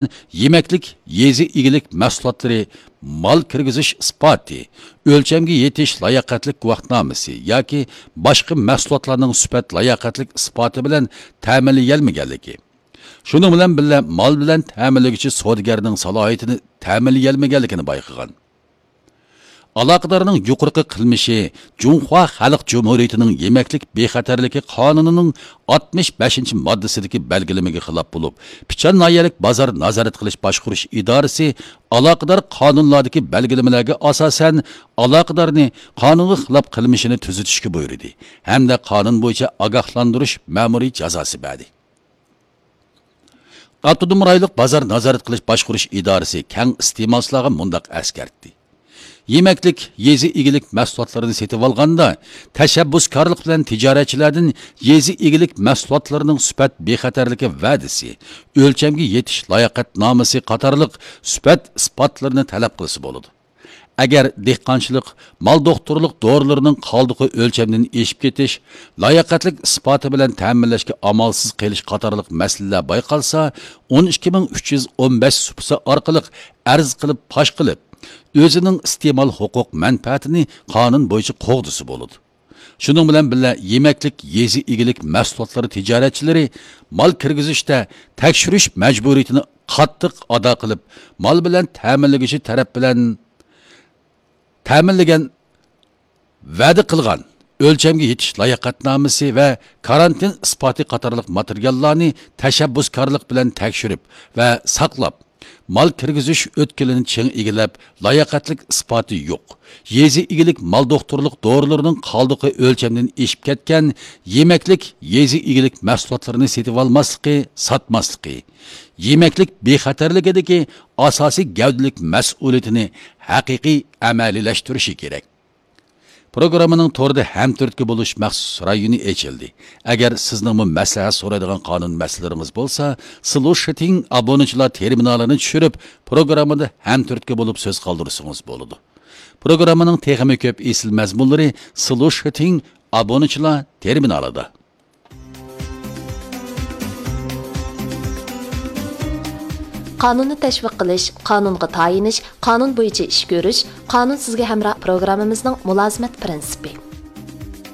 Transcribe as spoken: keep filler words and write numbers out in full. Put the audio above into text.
يېمەكلىك يېزا ئىگىلىك مەھسۇلاتلىرى مال كىرگۈزۈش ئىسپاتى، ئۆلچەمگە يېتىش لاياقەتلىك گۇۋاھنامىسى ياكى باشقا مەھسۇلاتلارنىڭ سۈپەت لاياقەتلىك ئىسپاتى بىلەن تەمىنلىيەلمىگەنلىكى، شۇنىڭ بىلەن بىللە، مال بىلەن تەمىنلىگۈچى سودىگەرنىڭ سالاھىيىتىنى تەمىنلىيەلمىگەنلىكىنى بايقىغان. ئالاقىدارنىڭ يۇقىرىقى قىلمىشى جۇڭخۇا خەلق جۇمھۇرىيىتىنىڭ يېمەكلىك بىخەتەرلىكى قانۇنىنىڭ ئاتمىش بەشىنچى ماددىسىدىكى بەلگىلىمىگە خىلاپ بولۇپ، پىچان ناھىيەلىك بازار نازارەت قىلىش باشقۇرۇش ئىدارىسى ئالاقىدار قانۇنلاردىكى بەلگىلىمىلەرگە ئاساسەن، ئالاقىدارنى قانۇنغا خىلاپ قىلمىشىنى تۈزىتىشكە بۇيرۇدى ھەمدە قانۇن بويىچە ئاگاھلاندۇرۇش مەمۇرىي جازاسى بەردى. ئاپتونوم رايونلۇق بازار نازارەت قىلىش باشقۇرۇش ئىدارىسى كەڭ ئىستېمالچىلارغا مۇنداق ئەسكەرتتى: يېمەكلىك، يېزا ئىگىلىك مەھسۇلاتلىرىنى سېتىۋالغاندا، تەشەببۇسكارلىق بىلەن تىجارەتچىلەردىن يېزا ئىگىلىك مەھسۇلاتلىرىنىڭ سۈپەت بىخەتەرلىكى ۋەدىسى، ئۆلچەمگە يېتىش لاياقەتنامىسى قاتارلىق سۈپەت ئىسپاتلىرىنى تەلەپ قىلسا بولىدۇ. ئەگەر دېھقانچىلىق، مال دوختۇرلۇق دورىلىرىنىڭ قالدۇقى ئۆلچەمدىن ئېشىپ كېتىش، لاياقەتلىك ئىسپاتى بىلەن تەمىنلەشكە ئامالسىز قېلىش قاتارلىق مەسىلىلەر بايقالسا، ئون ئىككى مىڭ ئۈچ يۈز ئون بەش سۇپىسى ئارقىلىق ئەرز قىلىپ پاش قىلىپ، ئۆزىنىڭ ئىستېمال ھوقۇق مەنپەئەتىنى قانۇن بويىچە قوغدىسا بولىدۇ. شۇنىڭ بىلەن بىللە، يېمەكلىك يېزا ئىگىلىك مەھسۇلاتلىرى تىجارەتچىلىرى مال كىرگۈزۈشتە تەكشۈرۈش مەجبۇرىيىتىنى قاتتىق ئادا قىلىپ، مال بىلەن تەمىنلىگۈچى تەرەپ بىلەن تەمىنلىگەن، ۋەدە قىلغان ئۆلچەمگە يېتىش لاياقەتنامىسى ۋە كارانتىن ئىسپاتى قاتارلىق ماتېرىياللارنى تەشەببۇسكارلىق بىلەن تەكشۈرۈپ ۋە ساقلاپ، مال كىرگۈزۈش ئۆتكىلىنى چىڭ ئىگىلەپ، لاياقەتلىك ئىسپاتى يوق، يېزا ئىگىلىك مال دوختۇرلۇق دورىلىرىنىڭ قالدۇقى ئۆلچەمدىن ئېشىپ كەتكەن يېمەكلىك يېزا ئىگىلىك مەھسۇلاتلىرىنى سېتىۋالماسلىقى، ساتماسلىقى، يېمەكلىك بىخەتەرلىكىدىكى ئاساسىي گەۋدىلىك مەسئۇلىيىتىنى ھەقىقىي ئەمەلىيلەشتۈرۈشى كېرەك. پروگراممىنىڭ توردا ھەمتۈرتكە بولۇش مەخسۇس رايونى ئېچىلدى. ئەگەر سىزنىڭمۇ مەسلىھەت سورايدىغان قانۇن مەسىلىلىرىڭىز بولسا، سلۇشىتىڭ ئابۇنىچىلار تېرمىنالىنى چۈشۈرۈپ، پروگراممىدا ھەمتۈرتكە بولۇپ سۆز قالدۇرسىڭىز بولىدۇ. پروگراممىنىڭ تېخىمۇ كۆپ ئېسىل مەزمۇنلىرى سلۇشىتىڭ ئابۇنىچىلار تېرمىنالىدا. قانۇننى تەشۋىق قىلىش، قانۇنغا تايىنىش، قانۇن بويىچە ئىش كۆرۈش، قانۇن سىزگە ھەمراھ پروگراممىمىزنىڭ مۇلازىمەت پىرىنسىپى.